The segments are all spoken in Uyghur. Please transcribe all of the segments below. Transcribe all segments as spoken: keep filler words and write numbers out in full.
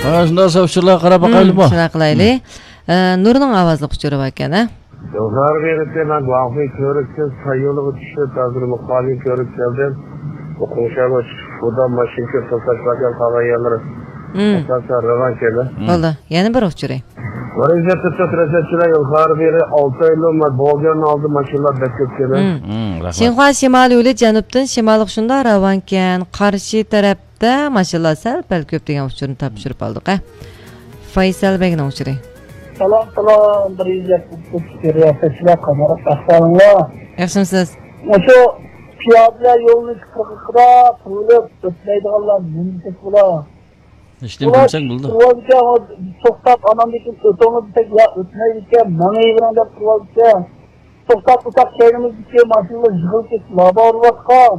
ھە، شۇنداق ئۇچۇرلارغا قاراپ باقايلىمۇ؟ شۇنداق قىلايلى. ئە، نۇرنىڭ ئاۋازلىق ئۇچۇرى بار ئىكەن، ھە؟ يوللار بېرىپ، مەن گۇاڭخۇي كۆۋرۈكتىن ساييولىغا چۈشۈپ، ھازىر مۇقالىي كۆۋرۈك كەلدىم. ئوقۇڭشاغا چۈشۈپ، بۇدا ماشىنا كۆپ توساش باركەن، قالغان يەرلىرى ئاساسەن راۋان كەلدى. بولدى. يەنە بىر ئۇچۇرى. مۇرەججەپ تۇتۇپ رەسەتچىلەر يوللار بېرى ئالتە ئايلىما بولغان ئالدى ماشىنىلار بەك كۆپ كەلدى. شىنخۇا شىمالىي يولى جەنۇبتىن شىمالغا شۇنداق راۋانكەن، قارشى تەرەپتە ماشىنىلار سەل پەل كۆپ دېگەن ئۇچۇرنى تاپشۇرۇپ ئالدۇق، ھە. فايسەل بەگنىڭ ئۇچۇرى. سالام، سالام، بىر يۈز يەتمىش ئۈچ رىياسەتچىلەر، قانداق ئەھۋالىڭلار؟ ياخشىمۇسىز؟ مۇشۇ پىيادىلەر يولىنى قىرغىقىدا تۇرۇلۇپ ئۆتمەيدىغانلار نېمە دېسەك بولا؟ ھېچنېمە دېمىسەك بولىدۇ. توختاپ، ئاناندىن كېيىن ئۆتۈڭلار دېسەك، يا ئۆتمەيدىكەن، ماڭىۋېرىڭ دەپ تۇرۇۋالىدىكەن. توختاپ تۇرساق، كەينىمىزدىكى ماشىنىلار يىغىلىپ كېتىپ لابا ئۇرۇۋاتقان.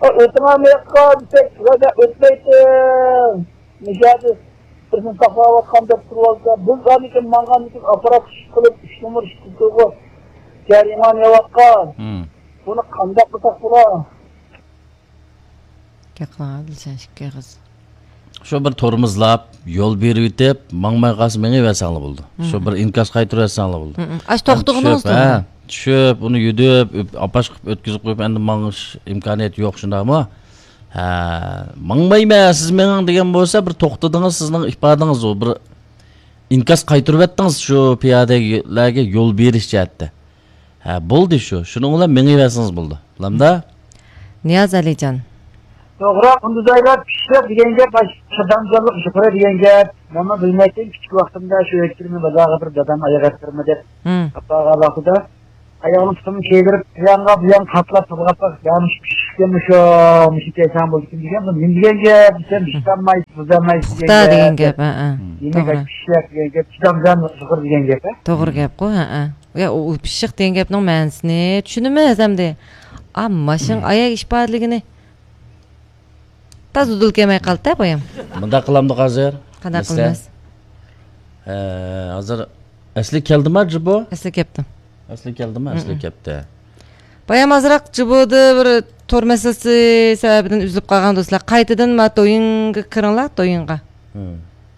ئا، ئۆتۈڭلار مۇياققا دېسەك، يا مەن ئۆتمەيتتىم. مۇشۇ يەردە بىرسىنى ساقلاۋاتقان دەپ تۇرۇۋالسا، بىز ئاندىن كېيىن ماڭغاندىن كېيىن ئاپپارات ئىش قىلىپ، ئۈچ نومۇر ئىش قىلدۇرغۇ جەرىمانە يەۋاتقان. بۇنى قانداق قىلساق بولا؟ گەپ قىلىڭ، ئادىلجان، ئىككى ئېغىز. شۇ بىر تورمۇزلاپ، يول بېرىۋېتىپ، ماڭماي قالسا مېڭىۋەرسەڭلار بولىدۇ. شۇ بىر ئىنكاس قايتۇرۇۋەتسەڭلار بولىدۇ. ئاشۇ توختىغىنىڭىز توغرا. چۈشۈپ، ئۇنى يۈدۈپ، ئاپاش قىلىپ ئۆتكۈزۈپ قويۇپ، ئەندى ماڭىش ئىمكانىيىتى يوق، شۇنداقمۇ؟ ھە، ماڭمايمەن، سىز مېڭىڭ دېگەن بولسا، بىر توختىدىڭىز، سىزنىڭ ئىپادىڭىز ئۇ، بىر ئىنكاس قايتۇرۇۋەتتىڭىز شۇ پىيادىلەرگە يول بېرىش جەھەتتە. ھە، بولدى شۇ، شۇنىڭ بىلەن مېڭىۋەرسىڭىز بولىدۇ. بولامدا؟ نىياز ئەلىجان. توغرا، قۇندۇزايلار پىششىق دېگەن گەپ، چىدامچانلىق يۇقىرى دېگەن گەپ. مەنمۇ بىلمەيتتىم، كىچىك ۋاقتىمدا شۇ ھېيتكىنىمنى بازارغا بىر دادام ئاياغ ئەتتۈرمە دەپ ئاپارغان ۋاقتىدا، ئاياغنى پۇتۇمنى كىيدۈرۈپ، بۇيانغا، بۇيانغا قاتلاپ، تىلغاپ، يا مۇشۇ پىششىقكەن، مۇشۇ، مۇشۇ كەيسەڭ بولىدىكەن دېگەن، نېمە دېگەن گەپ دېسەم، ھېچ دېيەلمەيسىز، دېيەلمەيسىز دېگەن گەپ. ھە، ھە. دېمەك، توغرا. پىششىق دېگەن گەپ، چىدامچان يۇقىرى دېگەن گەپ، ھە؟ توغرا گەپقۇ، ھە، ھە. يا، ئۇ، ئۇ پىششىق دېگەن گەپنىڭ مەنىسىنى چۈشىنىمىز ئەمدى. ئا، ماشىنىڭ ئاياغ ئىپادىلىكىنى تازا ئۇدۇل كەلمەي قالدى-دە، بايام. مۇنداق قىلامدۇق ھازىر؟ قانداق قىلىمىز؟ ھە، ھازىر ئەسلى كەلدىما جىبو؟ ئەسلى كەپتۇ. ئەسلى كەلدىما؟ ئەسلى كەپتى. بايام ئازراق جىبۇدا بىر تور مەسىلىسى سەۋەبىدىن ئۈزۈلۈپ قالغان دوستلار. قايتىدىن ما دويىنغا كىرىڭلار، دويىنغا.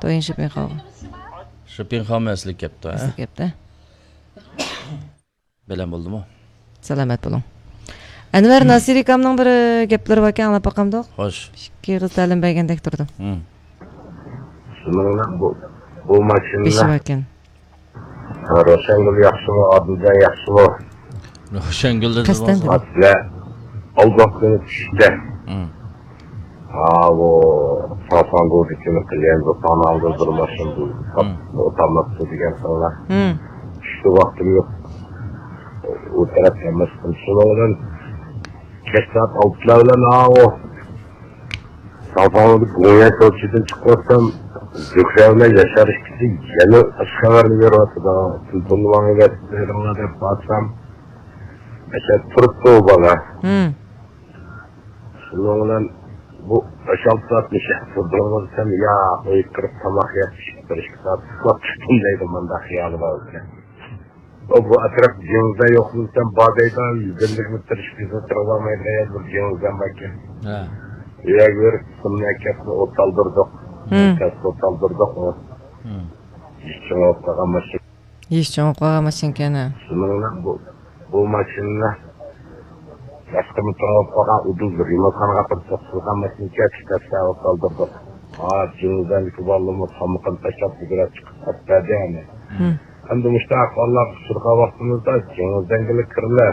دويىن شىپىڭخاۋغا. شىپىڭخاۋمۇ ئەسلى كەپتۇ، ھە؟ ئەسلى كەپتۇ. بەلەن بولدىمۇ؟ سالامەت بولۇڭ. ئەنۋەر ناسىرىكامنىڭ بىر گەپلىرى باركەن، ئاڭلاپ باقامدۇق؟ خوش. ئىككى ئېغىز تەلىم بەرگەندەك تۇردۇم. شۇنىڭ بىلەن بۇ، بۇ ماشىنىلار بېشى باركەن. روشەنگۈل ياخشىمۇ، ئادىلجان ياخشىمۇ؟ روشەنگۈل دېدى قەستەن بولسا. دېدى. ئالداقتىن چۈشتى. ھاۋۇ، ساسانگۇدىكىنى قىلغان، بۇ تانالدا بىر ماشىنا بۇ، ئوتالماپتۇ دېگەن خىللا. چۈشتە ۋاقتىم يوق. ئۇ تەرەپ ئەمەس، شۇنىڭ بىلەن كەچ سائەت ئالتىلار بىلەن ھاۋۇ، ساسانگۇدا گۇڭيەن چوچىدىن چىقىۋاتسام، زۆھرە بىلەن ياشار ئىككىسى يەنە ئاشۇ خەۋەرنى بېرىۋاتىدۇ. تېلېفوننى ماڭا بېرىڭلار دەپ بارسام، ئەشە تۇرۇپتۇ ئۇ بالا. شۇنىڭ بىلەن بۇ بەش-ئالتە سائەت نېشە تۇردۇڭلار دېسەم، يا، ئۆيگە كىرىپ تاماق يەپ، پىشىپ بىر ئىككى سائەت ئۇخلاپ چىقتىم دەيدۇ، مۇنداق خىيالى بار ئىكەن. ئۇ بۇ ئەتراپ جېڭىزدا يوق دېسەم، بار دەيدۇ، يۈز ئەللىك مېتىر ئىككى يۈز مېتىر بولالمايدىغان يەردە بىر جېڭىزدان بار ئىكەن. ھە. ئۇ يەرگە بېرىپ، قىسمىنى ئەكەپلا ئوت ئالدۇردۇق. كەسىپ ئوت ئالدۇردۇق. ھېچ چوڭ بولۇپ قالغان ماشىنا. ھېچ چوڭ بولۇپ قالغان ماشىنىكەن، ھە. شۇنىڭ بىلەن بۇ، بۇ ماشىنىنى باشقىمۇ چوڭ بولۇپ قالغان ئۇدۇل بىر يۇمۇرتقانغا بىر سوقۇلغان ماشىنا ئىكەن، ئىككى تەرەپلەپ ئالدۇردۇق. ھا، جېڭىزدەنكى بالىلىرىمۇ تامىقىنى تاشلاپ بۈگرەپ چىقىپ قاچىپ بەردى يەنى. ئەمدى مۇشۇنداق ئەھۋاللارغا ئۇچرىغان ۋاقتىمىزدا جېڭىزدەنگىلا كىرىلە.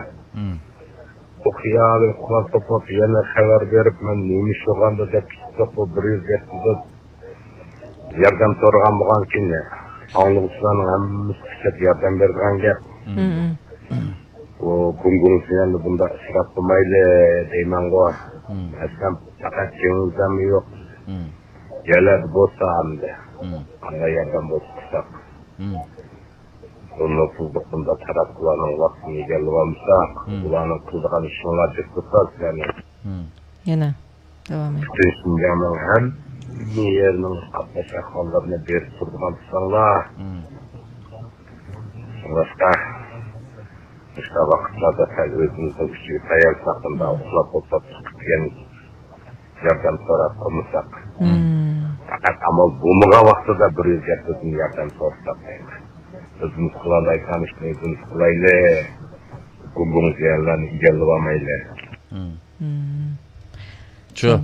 بۇ خىيالى ئۇخلاپ توپلاپ يەنە خەۋەر بېرىپ، مەن نېمە ئىش بولغاندا دەپ كېتىپتۇق، بۇ بىر يۈز يەتتە ياردەم سورىغان بولغانكىن، ئاڭلىغۇچىلارنىڭ ھەممىسى قىچاپ ياردەم بېرىدىغان گەپ. بۇ گۇڭگۇڭ سىياننى بۇنداق ئىسراپ قىلمايلى دەيمەنغۇ. ئەسلەم پەقەت جېڭىزدەنمۇ يوق. يەرلەردە بولسا ئەمدى قانداق ياردەم بولسا قىلساق. بۇ نوپۇزلۇق بۇنداق تاراتقۇلارنىڭ ۋاقتىنى ئىگىلىۋالمىساق، ئۇلارنىڭ قىلىدىغان ئىشىنى جىق تۇتسا سىلەرنى. يەنە داۋامى. پۈتۈن شىنجاڭنىڭ ھەممە يېرىنىڭ قاتناش ئەھۋاللىرىنى بېرىپ تۇرىدىغان تۇرساڭلار. شۇڭلاشقا، مۇشۇنداق ۋاقىتلاردا سەل ئۆزىمىزنىڭ كۈچىگە تايانساق، بۇنداق ئۇخلاپ ئولتۇرۇپ چىقىپ دېگەن ياردەم سوراپ قىلمىساق. ئەمما بولمىغان ۋاقتىدا بىر يۈز گەپ بىزدىن ياردەم سورىساق دەيمەن. ئۆزىمىز قىلالايدىغان ئىشنى ئۆزىمىز قىلايلى. گۇڭگۇڭ جىيەنلەرنى ئىگىلىۋالمايلى. مم. شۇ.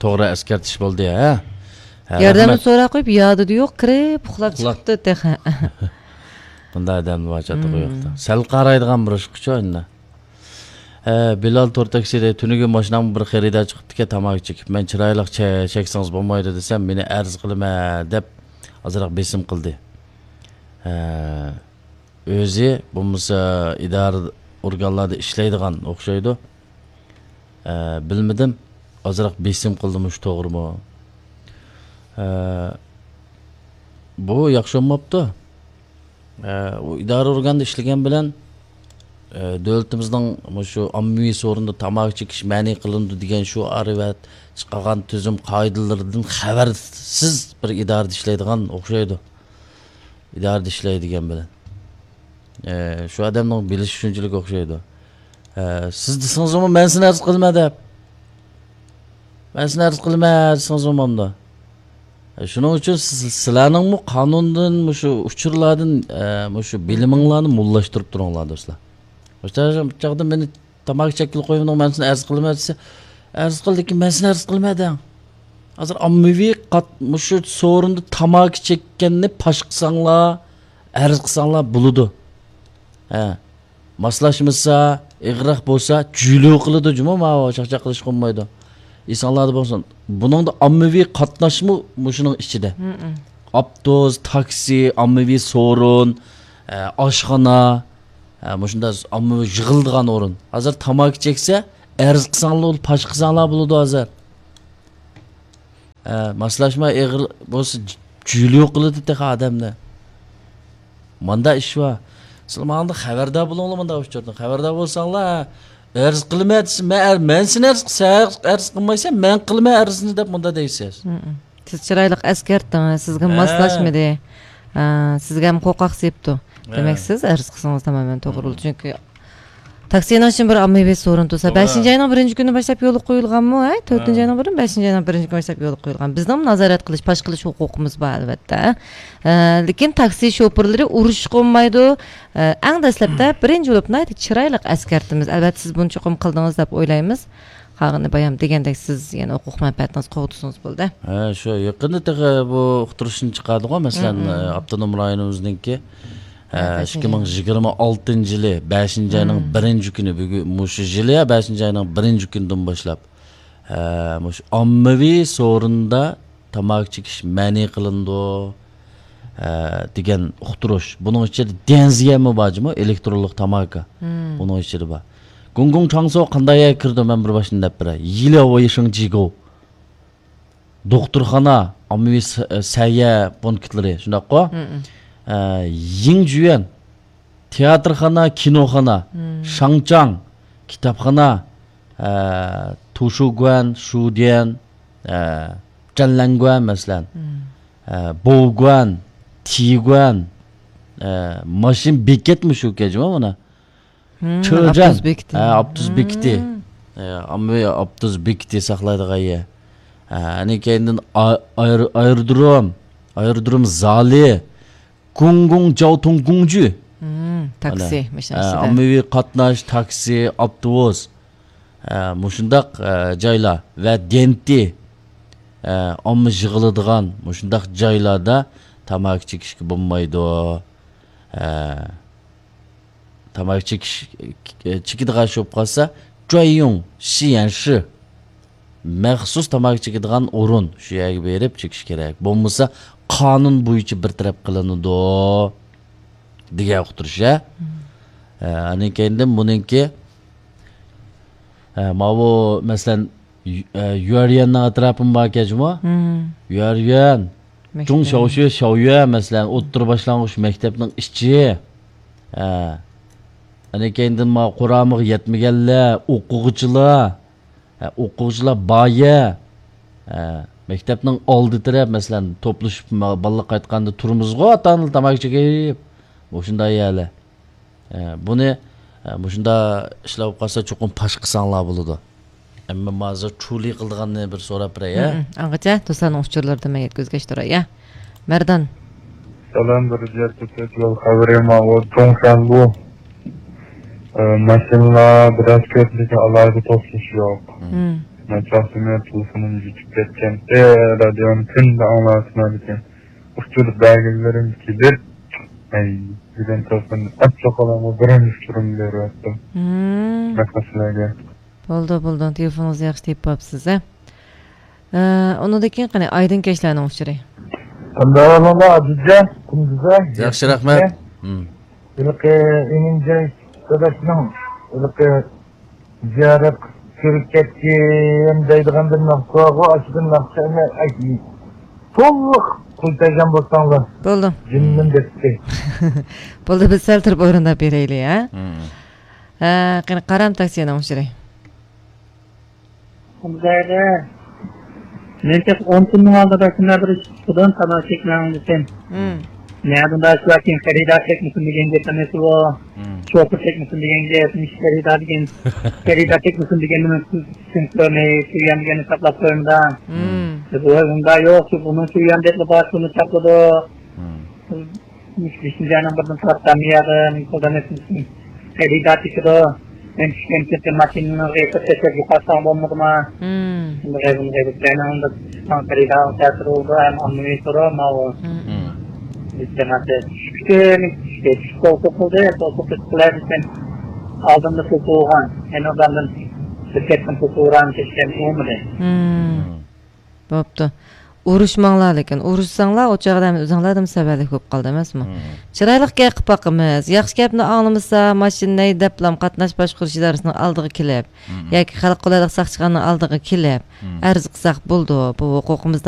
توغرا ئەسكەرتىش بولدى، ھە؟ ھە، ياردەمنى رەھمەت. سوراپ قويۇپ، يادىدا يوق، كىرىپ ئۇخلاپ ئۇخلاپ. چىقىپتۇ تېخى. بۇنداق ئادەم بار چاتىقى مم. يوقتا. سەل قارايدىغان بىر ئىشقىچۇ ئەمدى. ھە، بىلال تور تاكسىدا تۈنۈگۈن ماشىنامغا بىر خېرىدار چىقىپتىكەن، تاماكا چېكىپ. مەن چىرايلىق چە-، چەكسىڭىز بولمايدۇ دېسەم، مېنى ئەرز قىلىمەن دەپ ئازراق بېسىم قىلدى. ھە، ئۆزى بولمىسا ئىدارە ئورگانلاردا ئىشلەيدىغان ئوخشايدۇ. ھە، بىلمىدىم. ئازراق بېسىم قىلدىمۇ شۇ توغرىمۇ؟ ھە، بۇ ياخشى بولماپتۇ. ئە، ئۇ ئىدارە ئورگاندا ئىشلىگەن بىلەن، ئە، دۆلىتىمىزنىڭ مۇشۇ ئاممىۋى سورۇندا تاماكا چېكىش مەنئى قىلىنىدۇ دېگەن شوئارى ۋە چىقارغان تۈزۈم قائىدىلىرىدىن خەۋەرسىز بىر ئىدارىدە ئىشلەيدىغان ئوخشايدۇ. ئىدارىدە ئىشلەيدىغان بىلەن. ئە، شۇ ئادەمنىڭ بىلىشى شۇنچىلىك ئوخشايدۇ. ئە، سىز دېسىڭىزمۇ، مەن سېنى ئەرز قىلىمەن دەپ. مەن سېنى ئەرز قىلىمەن دېسىڭىزمۇ بولمامدۇ؟ ئە، شۇنىڭ ئۈچۈن سىز، سىلەرنىڭمۇ قانۇندىن، مۇشۇ ئۇچۇرلاردىن، ئە، مۇشۇ بىلىمىڭلارنى موللاشتۇرۇپ تۇرۇڭلار، دوستلار. مۇشۇ چاغدا مېنى تاماكا چەككىلى قويمىدىڭ، مەن سېنى ئەرز قىلىمەن دېسە، ئەرز قىل، لېكىن مەن سېنى ئەرز قىلىمەن دەڭ. ھازىر ئاممىۋى قات-، مۇشۇ سورۇندا تاماكا چەككەننى پاش قىلساڭلار، ئەرز قىلساڭلار بولىدۇ. ھە. ماسلاشمىسا، ئېغىرراق بولسا، جۈلۇ قىلىدۇ جۇمۇ، ماۋۇ چاقچاق قىلىشقا بولمايدۇ. ئېسىڭلاردا بولسۇن. بۇنىڭدا ئاممىۋى قاتناشمۇ مۇشۇنىڭ ئىچىدە. مم. ئاپتوبۇس، تاكسى، ئاممىۋى سورۇن، ئە، ئاشخانا، ئە، مۇشۇنداق ئاممىۋى يىغىلىدىغان ئورۇن. ھازىر تاماكا چەكسە، ئەرز قىلساڭلار، پاش قىلساڭلار بولىدۇ ھازىر. ھە، ماسلاشما ئېغىر بولسا، جۈلۈ قىلىدۇ تېخى ئادەمنى. ماندا ئىش بار. سىلەر ماڭا خەۋەردار بولۇڭلار ماندا ئۇچۇردىن. خەۋەردار بولساڭلار، ئەرز قىلىمەن دېسە، مەن ئەر-، مەن سېنى ئەرز، سەن ئەرز قىلمايسەن، مەن قىلىمەن ئەرزنى دەپ ماندا دەيسىز. مم. سىز چىرايلىق ئەسكەرتىڭىز، سىزگە ھە. ماسلاشمىدى. ھە، سىزگە ھەم قورقاق سېلىپتۇ. ھە. دېمەك، سىز ئەرز قىلسىڭىز تامامەن توغرا بولىدۇ. مم. چۈنكى تاكسىنىڭ ئىچىدە بىر ئاممىۋى سورۇن تۇرسا، توغرا. بەشىنچى ئاينىڭ بىرىنچى كۈنى باشلاپ يولغا قويۇلغانمۇ؟ ھەي، تۆتىنچى ھە. ئاينىڭ بىرىنچى، بەشىنچى ئاينىڭ بىرىنچى كۈنى باشلاپ يولغا قويۇلغان. بىزنىڭ نازارەت قىلىش، پاش قىلىش ھوقۇقىمىز بار، ئەلۋەتتە. ئە، لېكىن تاكسى شوپۇرلىرى ئۇرۇشقا بولمايدۇ. ئە، ئەڭ دەسلەپتە بىرىنچى بولۇپ ناھايىتى چىرايلىق ئەسكەرتىمىز. ئەلۋەتتە، سىز بۇنى چوقۇم قىلدىڭىز دەپ ئويلايمىز. قالغىنى بايام دېگەندەك سىز يەنە ھوقۇق مەنپەئەتىڭىزنى قوغدىسىڭىز بولدى. ھە، شۇ يېقىندا تېخى بۇ ئۇقتۇرۇشنى چىقاردىغۇ، مەسىلەن، مم. ئاپتونوم رايونىمىزنىڭكى، ھە، ھە، بەشىنچى ئىككى مىڭ يىگىرمە ئالتىنچى يىلى بەشىنچى ئاينىڭ مم. بىرىنچى كۈنى، بۈگۈن، مۇشۇ يىلى، ھە، بەشىنچى ئاينىڭ بىرىنچى كۈنىدىن باشلاپ، ھە، مۇشۇ ئاممىۋى سورۇندا تاماكا چېكىش مەنئى قىلىنىدۇ، ھە، دېگەن ئۇقتۇرۇش. بۇنىڭ ئىچىدە دەنزىيەمۇ بار جۇمۇ، ئېلېكترونلۇق تاماكا. مم. بۇنىڭ ئىچىدە بار. گۇڭگۇڭ چاڭسو قانداق يەرگە كىرىدۇ، مەن بىر باشتىن دەپ بېرەي. يىلياۋ ۋېيشىڭ جىگو. دوختۇرخانا، ئاممىۋى س-، سەھىيە پونكىتلىرى، شۇنداققۇ؟ مم. ئە، يىڭجۈەن، تىياتىرخانا، كىنوخانا، مم. شاڭچاڭ، كىتابخانا، ئە، توشۇگۇەن، شۇديەن، ئە، جەنلەنگۇەن، مەسىلەن. مم. ئە، بوۋگۇەن، تىگۇەن، ئە، ماشىنا بېكەتمۇ شۇ كەجمۇ مانا. مم، چېجەن. ئاپتوبۇس بېكىتى. ھە، ئاپتوبۇس مم. بېكىتى. ھە، ئاممىۋى ئاپتوبۇس بېكىتى ساقلايدىغان يەر. ھە، ئاندىن كەينىدىن ئا-، ئاير-، ئايرودروم، ئايرودروم زالى، گۇڭگۇڭ جاۋتۇڭ گۇڭجۈ. مم، تاكسى، مانا. ماشىنا ھە، ئىچىدە. ئاممىۋى قاتناش، تاكسى، ئاپتوبۇس. ھە، مۇشۇنداق، ھە، جايلار ۋە دەنتى، ھە، ئامما يىغىلىدىغان مۇشۇنداق جايلاردا تاماكا چېكىشكە بولمايدۇ. ھە. تاماكا چېكىش، چېكىدىغان ئىش بولۇپ قالسا، جۇەييۇڭ شىيەنشى، مەخسۇس تاماكا چېكىدىغان ئورۇن، شۇ يەرگە بېرىپ چېكىش كېرەك. بولمىسا، قانۇن بويىچە بىر تەرەپ قىلىنىدۇ، دېگەن ئۇقتۇرۇش، ھە؟ مم. ھە، ئاندىن كەينىدىن بۇنىڭكى، ھە، ماۋۇ، مەسىلەن، يۈ-، ئە، يۈەريۈەننىڭ ئەتراپىمۇ باركەن جۇمۇ. مم. يۈەريۈەن، مەكتەپ. جۇڭ شياۋشۈ شياۋيۈەن، مەسىلەن، ئوتتۇرا باشلانغۇچ مەكتەپنىڭ ئىچى. ئە، ئاندىن كەينىدىن ما قۇرامىغا يەتمىگەنلەر، ئوقۇغۇچىلار، ئە، ئوقۇغۇچىلار بايە. ئە، مەكتەپنىڭ ئالدى تەرەپ، مەسىلەن، توپلىشىپ ما-، بالىلار قايتقاندا تۇرىمىزغۇ، ئاتا-ئانىلار تاماكا چېكىپ. مۇشۇنداق يەرلەر. ئە، بۇنى، ئە، مۇشۇنداق ئىشلار بولۇپ قالسا، چوقۇم پاش قىلساڭلار بولىدۇ. ئەمما ھازىر چۇلى قىلىدىغاننى بىر سوراپ بېرەي، ھە؟ ھە، ھە. ئاڭغىچە دوستلارنىڭ ئۇچۇرلىرىدىن مەن يەتكۈزگەچ تۇراي، ھە؟ مەردان. سالام، بىر جەھەتتە يول خەۋىرى ماۋۇ دۇڭشەنبۇ. ئە، ماشىنىلار بىراز كۆپ، لېكىن ئالاھىدە توسۇلۇش يوق. مم. مم. مەن چاقتىمەن تېلېفونۇم يىتىپ كەتكەنتى، رادىيونى كۈندە ئاڭلاۋاتىمەن، لېكىن ئۇچۇر بەرگۈلىرىم كېلىپ، ئەي، بۈگۈن تېلېفوننى ئاچچىق قالامغا بىرىنچى ئۇچۇرۇمنى بېرىۋەتتىم. مم. رەھمەت سىلەرگە. بولدى، بولدى. تېلېفونىڭىزنى ياخشى تېپىپ ئاپسىز، ھە؟ ئە، ئۇنىڭدىن كېيىن قېنى، ئايدىن كەچلەرنىڭ ئۇچۇرى. قانداق ئەھۋاللار، ئادىلجان؟ كۈندۈزە؟ ياخشى، رەھمەت. مم. ھېلىقى ئىمىنجاي داداشنىڭ ھېلىقى زىيارەت كۆرۈپ كەتكىن دەيدىغان بىر ناخشا بارغۇ، ئاشۇ بىر ناخشىنى تولۇق قويۇپ بەرگەن بولساڭلار. بولدى. جېنىمدىن دەپتى. بولدى، بىز سەل تۇرۇپ ئورۇنداپ بېرەيلى، ھە؟ مم. ھە، قېنى، قارام تاكسىنىڭ ئۇچۇرى. خۇدايدا، مەن تېخى ئون كۈننىڭ ئالدىدا شۇنداق بىر ئىش چىققۇدىن تاماشا چەكمەڭ دېسەم. مم. نەدىن باشلاپ كېيىن خېرىدار چەكمىسۇن دېگەن گەپنى ئېيتىۋۇ. مم. شوپۇر چەكمىسۇن دېگەن گەپ، مۇشۇ خېرىدار دېگەن، خېرىدار چەكمىسۇن دېگەننى مەن چۈشىنىپ كۆرمەي، شۇ يەردىن ساقلاپ قويمىدا. مم. بۇ ئۇنداق يوق، شۇ بۇنىڭ شۇ يەردە بار، شۇنى چاپلىدۇق. مم. مۇشۇ بېشىنچى ئاينىڭ بىرىدىن تارتسام ياغىن، قولدان ئۆتمىسۇن. خېرىدار چېكىدۇ. مەن چۈشكەن كېتىپ ماشىنىنى غىيقىپ تاشلاپ يوقاتساڭ بولمىدىمۇ؟ مم. شۇنداق غەيۋىن غەيۋىن بىرەينىڭ بىر خېرىدار تەسىر بولدى، ھەم ئاممىۋى سورا ماۋۇ. مم. مم. بىز جامائەت چۈشكەن، چۈشكەن، توسۇق قىلدى، توسۇق قىلار دېسەم، ئالدىمدا توسۇق بولغان. يەنە ئۇلاردىن بىر كەتكەن توسۇق ئۇران كەتكەن بولمىدى. مم. مم. بوپتۇ. ئۇرۇشماڭلار لېكىن. ئۇرۇشساڭلار، ئۇ چاغدا ئەمدى ئۆزۈڭلاردىن سەۋەنلىك بولۇپ قالىدۇ ئەمەسمۇ؟ مم. چىرايلىق گەپ قىلىپ باقىمىز. ياخشى گەپنى ئاڭلىمىسا، ماشىنىنى ھەيدەپلا قاتناش باشقۇرۇش ئىدارىسىنىڭ ئالدىغا كېلىپ، مم، ياكى خەلق قولايلىق ساقچىخانىنىڭ ئالدىغا كېلىپ، مم، ئەرز قىلساق بولىدۇ. بۇ ھوقۇقىمىزدا